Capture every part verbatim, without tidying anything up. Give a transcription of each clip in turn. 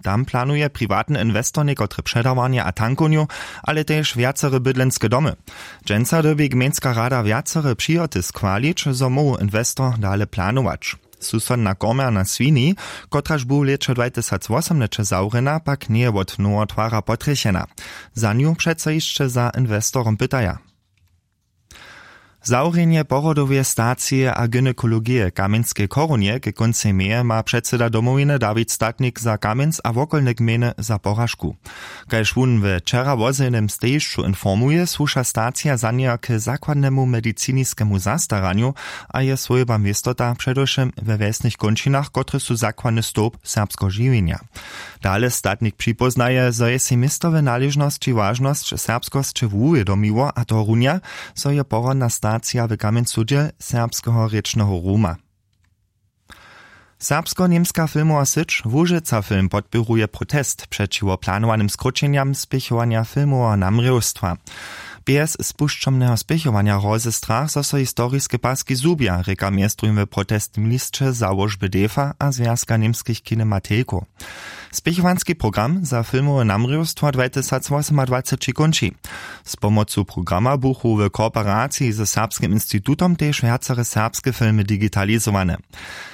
Tam planuje priwatny inwestor někotre předawarnje a tankownju, ale tež wjacore bydlenske domy. Dźensa dyrbi gmejnska rada wjacore přihoty schwalić, zo móhł inwestor dale planować. Susodna komjerna swini, kotraž bu w lěće dwatysacwosomnaće zawrjena, pak njeje wot nowotwara potrjechena. Za nju přeco hišće za inwestorom pytaja. Zawrjenje porodoweje stacije a gynekologije w kamjenskej chorunje ke kóncej meje ma předsyda domowiny Dawid Statnik za Kamjenc a wokolne gmejny za poražku. Kaž wón we wčera wozjenym stejišću informuje, słuša stacija za njeho k zakładnemu mediciniskemu zastaranju a je swójba městota předewšěm we wjesnych kónčinach, kotrež su zakładny stołp serbskeho žiwjenja. Dale statnik připóznaje, zo je sej městowe naležnosći wažnosć serbskosće wuwědomiło, a to runja, zo je porodna stacija w Kamjencu dźěl serbskeho rěčneho ruma. Serbsko-němska filmowa syć Łužica Film podpěruje protest přećiwo planowanym skróćenjam spěchowanja filmoweho namrěwstwa. Bjez spušćomneho spěchowanja hrozy strach, zo so historiske paski zhubja, rěka mjeztruhim w protestnym lisće załožby defa a zwjazka němskich kinematejkow. Spěchowanski program za filmowe namrěwstwo dwatysacwosomadwaceći kónči. Z pomocu programa buchu w kooperaciji ze Serbskim institutom tež wjacore serbske filmy digitalizowane.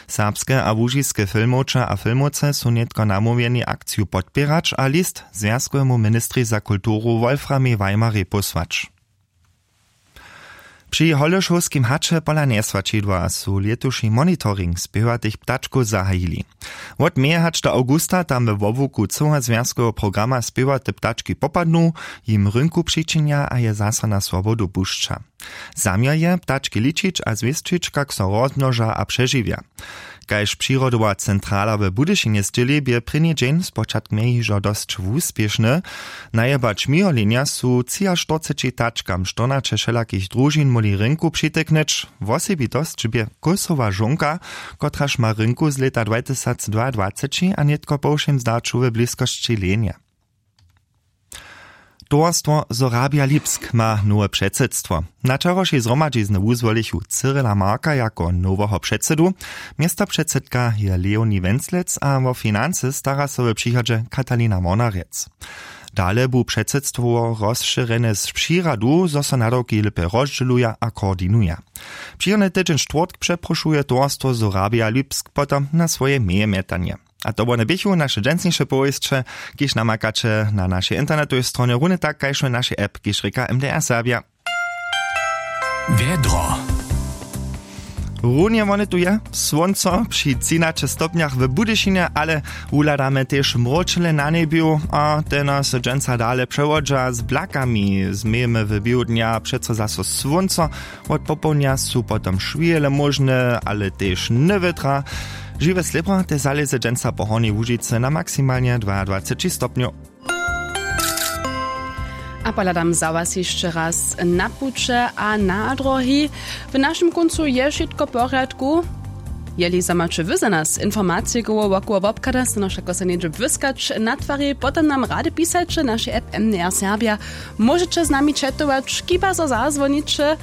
Serbske a łužiske filmowče a filmowce su nětko namołwjeni akciju podpěrać a list zwjazkowemu ministrej za kulturu Wolframej Weimerej pósłać. Při holešowskim haće pola njeswaćidła su lětuši monitoring spěwatych ptačkow zahajili. Wot meje hač do awgusta tam we wobłuku cyłazwjazkoweho programa spěwate ptački popadnu, jim rynku přičinja a je zaso na swobodu pušća. Zaměr je ptački ličić a zwěsćić, kak so rozmnoža a přežiwja. Kaž přirodowa centrala w Budyšinje sćěli, bě prěni dźeń spočatk mje hižo dosć wuspěšny. Najebać miholenja su třiaštyrceći tačkam štyrnaće wšelakich družin móhli rynku přityknyć. Wosebitosć bě kósowa žonka, kotraž ma rynku z lěta dwatysacdwaadwaceći a nětko po wšěm zdaću we bliskosći lenje. Towarstwo Sorabia Lipsk ma nowe předsydstwo. Na wčerawšej zhromadźizny wuzwolichu Cyrila Marka jako noweho předsydu, městopředsydka je Leonie Wenzlec a wo financy stara so w přichodźe Katalina Mornarjec. Dale bu předsydstwo rozšěrjene z přiradu, zo so nadawki lěpje rozdźěluja a koordinuja. Přichodny tydźeń štwórtk přeprošuje towarstwo Sorabia Lipsk potom na swoje mejemjetanje. A to wone běchu naše dźensniše powěsće, kiž namakaće na našej internetowej stronje, runje tak kaž w našej app, kiž rěka M D R Serbia. Wjedro. Runje wone tu je, słónco při třinaće stopnjach w Budyšinje, ale wuhladamy tež mróčele na njebju a te nas dźensa dale přewodźa z blakami. Změjemy w běhu dnja přeco zaso słónco. Wot popołdnja su potom šwěle móžne, ale tež newětra. Žiwe slěpro te zalěze dźensa po Hornjej Łužicy na maksimalnje dwaadwaceći stopnjow. A pohladam za was hišće raz na puće a na drohi. W našim kóncu je wšitko w porjadku. Jeli zo maće wy za nas informacije koło wokoło wobchada, stano wšako so něhdźe błyskać na twari, potom nam rady pisajće w našej app M D R Serbia. Móžeće z nami četować, kiba zo zazwoniće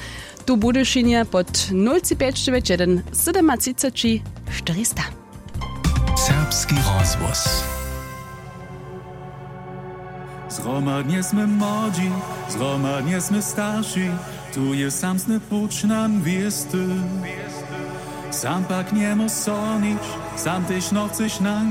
tu w Budyšinje pod nul tři pjeć dźewjeć jedyn sydomatřiceći štyrista. Serbski rozhłos. Zhromadnje smy młodźi, zhromadnje smy starši, tu je samsny puć nam wěsty. Sam pak njemóž so nič, sam tež nochceš nank